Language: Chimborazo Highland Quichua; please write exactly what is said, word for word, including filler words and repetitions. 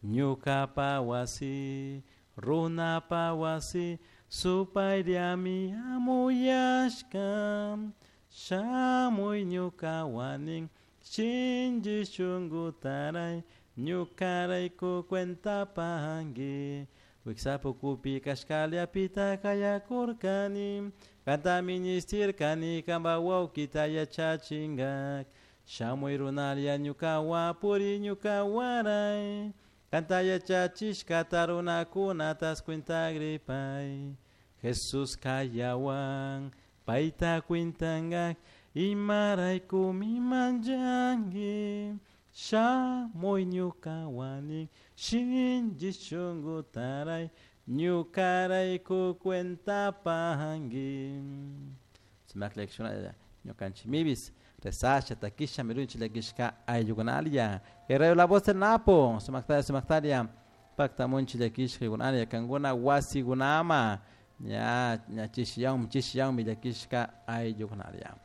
Ñucapa wasi, runapa wasi, supayllami amuyashka. Shamuy ñukawanin, shinchi shunkutaray, ñukarayku cuentapanki. Wiksapukupi kashkallapita kayakurkani, kanta ministirkani kanpa wawkita yachachingak. Shamuy runalla ñukawan puri ñukawaray, kanta yachachishkata runakunatas cuentagripay. Jesús kayawan, payta cuentangak, imaraykumi manchanki. Shamuy ñukawanin, shinchi shunkutaray, ñukarayku cuentapanki. Sumak lección ñukanchik mibis rezasha takisha mirunchi llakishka ayllukunalla. Guerrero la voz del Napo, sumaktaria sumaktaria paktamunchi llakishka ykunalla kankuna wasikunama ña ña chishiyanmi chishiyanmi llakishka ayllukunalla.